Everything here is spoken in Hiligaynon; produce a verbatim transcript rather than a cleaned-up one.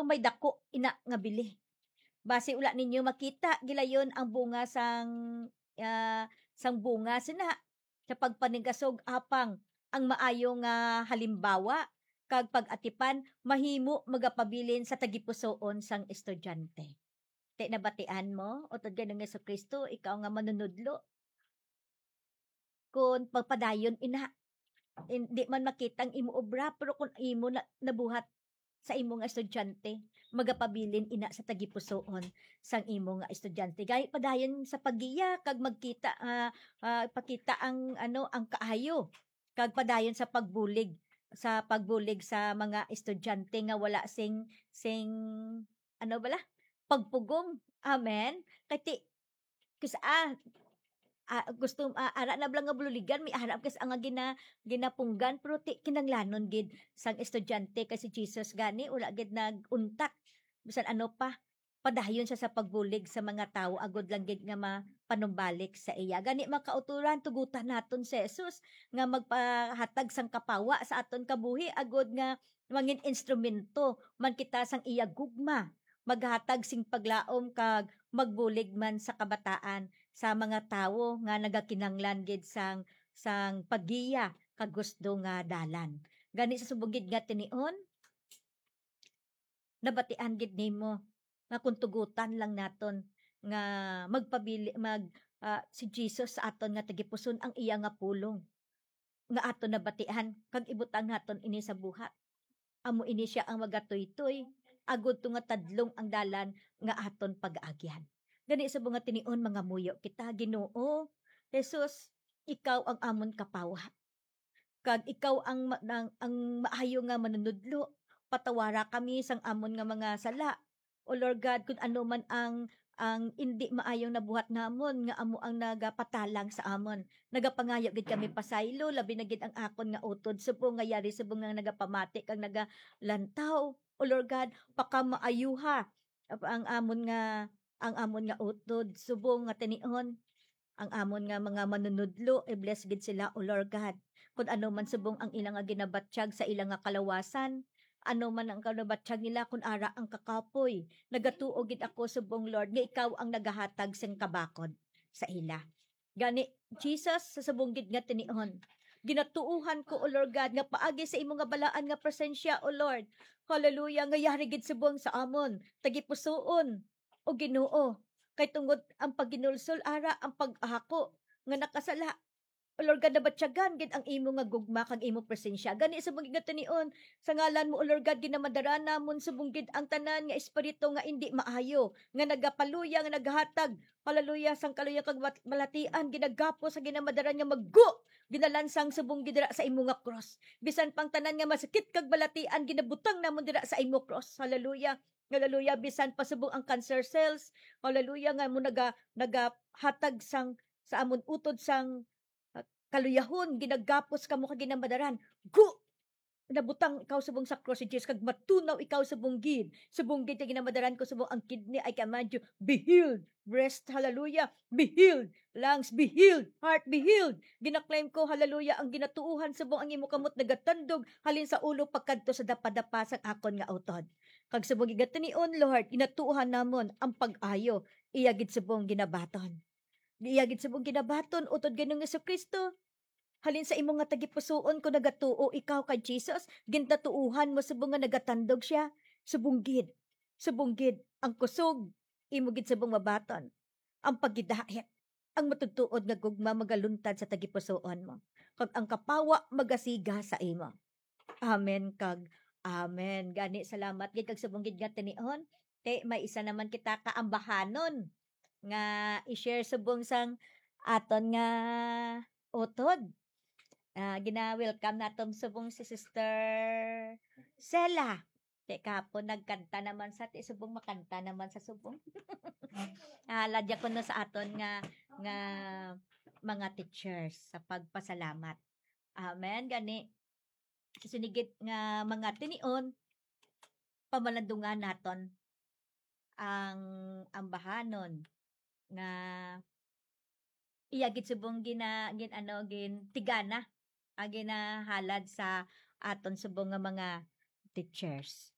may dako ina nga bili. Basi wala ninyo makita gilayon ang bunga sang, ah, sang bunga sina sa pagpaningasog, apang ang maayo nga halimbawa kag pag-atipan mahimo magapabilin sa tagipusoon sang estudyante. Ti nabatian mo, utod kay Ginoong Jesu-Cristo, ikaw nga manunudlo, kon pagpadayon ina, hindi man makita ang imo obra, pero kung imo na, nabuhat sa imo nga estudyante, magapabilin ina sa tagipusoon sang imo nga estudyante. Gani padayon sa paggiya kag magkita, ah, ah, pakita ang, ano, ang kaayo, kag padayon sa pagbulig, sa pagbulig sa mga estudyante nga wala sing, sing, ano bala? Pagpugong. Amen. Kay ti, kus-, ah, ah, gusto, ah, ara na bala nga buligan, may ara kas ang nga gina-, ginapunggan, pero ti, kinanglanon gid sang estudyante kay si Jesus gani, wala gid nag-untat. Bisan ano pa, padayon siya sa pagbulig sa mga tawo agod lang gid nga mapanumbalik sa iya. Gani, mga kauturan, tugutan naton si Jesus nga magpahatag sang kapawa sa aton kabuhi agod nga mangin instrumento man kita sang iya gugma, maghatag sing paglaom kag magbulig man sa kabataan sa mga tawo nga nagakinahanglan gid sang, sang paggiya kag husdo nga dalan. Gani sa subong gid nga tinion, nabatian gid nimo nga kung tugutan lang naton nga magpabili, mag, ah, si Jesus sa aton nga tagipuson ang iya nga pulong nga aton nabatian kag ibutang naton ini sa buhat. Amo ini sia ang magatuytoy agud to nga tadlong ang dalan nga aton pag-aagyan. Gani sa mga tinion, mga muyo kita, Ginoo, Jesus, ikaw ang amon kapawa. Kag ikaw ang ma-, ang, ang maayo nga manunudlo. Patawara kami sang amon nga mga sala. O Lord God, kun ano man ang, ang indi maayong nabuhat namon nga amo ang nagapatalang sa amon. Nagapangayo gid kami pasaylo, labi na gid ang akon nga utod subong nga yari subong nga nagapamati kag nagalantaw. O Lord God, pakamaayuha ang amon nga, ang amon nga utod subong nga tinion. Ang amon nga mga manunudlo, i-bless gid sila, O Lord God. Kun ano man subong ang ila nga ginabatyag sa ila nga kalawasan, ano man ang kalabatyag nila, kun ara ang kakapoy, nagatuo gid ako subong, Lord, nga ikaw ang nagahatag sing kabakod sa ila. Gani, Jesus, sa subong gid nga tinion, ginatuohan ko, O Lord God, nga paagi sa imo nga balaan nga presensya, O Lord. Hallelujah, nga yari gid subong sa amon, tagipusoon, O Ginoo, kay tungod ang paghinulsol, ara ang pag-ahako nga nakasala. O Lord God, nabatyagan gid ang imo nga gugma kag imo presensya. Gani, subong gid nga tinion, sa ngalan mo, O Lord God, ginamadara namon subong gid ang tanan nga espiritu nga indi maayo, nga nagapaluya, nga naghatag, hallelujah, sang kaluya kag mat-, balatian, ginagapos sa ginamadaran nga maggo, ginalansang subong gid dira sa imo nga cross. Bisan pang tanan nga masakit kag balatian, ginabutang namon dira sa imo cross. Hallelujah. Hallelujah. Bisan pa subong ang cancer cells, hallelujah, nga mo naga-, nagahatag sang, sa amon utod sang, ah, kaluyahon, ginagapos kamo kag ginamadaran. Go! Nabutang ikaw subong sa cross ni Jesus, kag matunaw ikaw subong gid. Subong gid nga ginamadaran ko subong ang kidney, I command you, be healed. Breast, hallelujah, be healed. Lungs, be healed. Heart, be healed. Ginaklaim ko, hallelujah, ang ginatuohan subong ang imo kamot nagatandog halin sa ulo pagkadto sa dapadapa sang akon nga utod. Kag subong gid nga tinion, Lord, ginatuohan namon ang pag-ayo, iya gid subong ginabaton. Iya gid subong ginabaton, utod kay Ginoong Jesu-Cristo. Halin sa imo nga tagipusoon, kung nagatuo ikaw kay Jesus, gintatuohan mo subong nga nagatandog sia. Subong gid, subong gid, ang kusog, imo gid subong mabaton. Ang paghidait, ang matudtuod nga gugma magaluntad sa tagipusoon mo, kag ang kapawa magasiga sa imo. Amen kag amen. Gani, salamat gid kag subong gid nga tinion. Te, may isa naman kita ka ambahanon nga i-share subong sang aton nga utod. Ah, gina-welcome naton subong si Sister Sela. Te, kahapon nagkanta naman sa, te, subong makanta naman sa subong. Ah, ladya ko na sa aton nga, nga mga teachers sa pagpasalamat. Amen. Gani, sini gid nga mga tinion, pamalandungan naton ang ambahanon nga iya gid subong gina-, gin-, ano, gintigana, ang ginahalad sa aton subong nga mga teachers.